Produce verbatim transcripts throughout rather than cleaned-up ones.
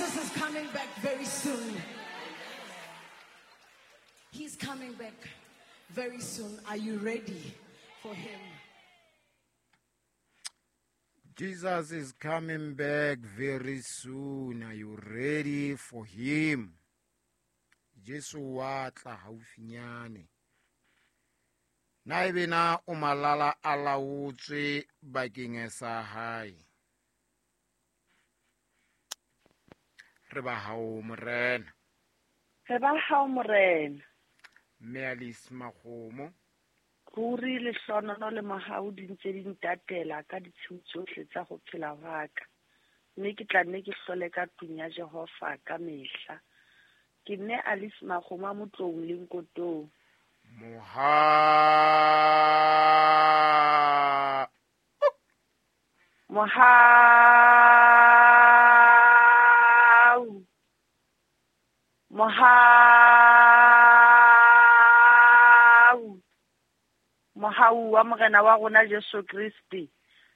Jesus is coming back very soon. He's coming back very soon. Are you ready for him? Jesus is coming back very soon. Are you ready for him? Jesu wa tla haufinyane. Na ebe na o malala a laotswe bakeng sa hae. Re ba hao morena. Re ba hao morena. Mme Alice Makgomo. Ruri lehlohono le mohau di ntse di ntatela ka ditshiu tsohle tsa ho phela hwa ka. Mme ke tla nne ke hlole ka tlung ya Jehova ka mehla. Ke mme Alice Makgomo a Motloung le Nkotong. Moha Mohau. Mohau. Mohau wa Morena wa rona Jesu Kriste,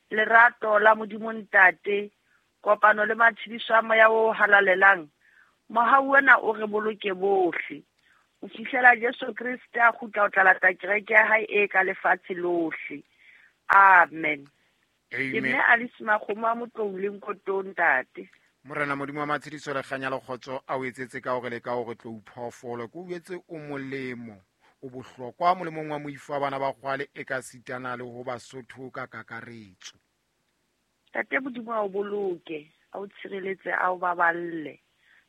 lerato la Modimo Ntate, kopano le matshediso a moya o halalelang. Mohau ona o re boloke bohle. O fihlela Jesu Kriste a kgutla o tla lata kereke ya hae e ka lefatshe lohle. Amen. Ke mme Alice Makgomo a Motloung le Nkotong ntate. Morena Modimo wa matshediso le kganya le kgotso a o etsetse ka hore le ka hore tlo phoofolo ke o etse o molemo o bohlokwa molemong wa moifo wa bana ba kgwale e ka sitana le ho Basotho ka kakaretso. Ntate Modimo a o boloke, a o tshireletse, a o baballe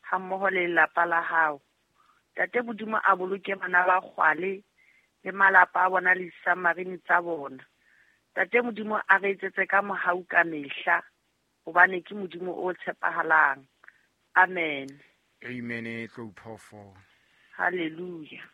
ha mmoho le lelapa la hao. Ntate Modimo a boloke bana ba kgwale le malapa a bona le disamarine tsa bona. Ntate Modimo a re etsetse ka mohau ka mehla, hobane ke Modimo o tshepahalang. Amen. Amen. Tlo phoofolo. Hallelujah.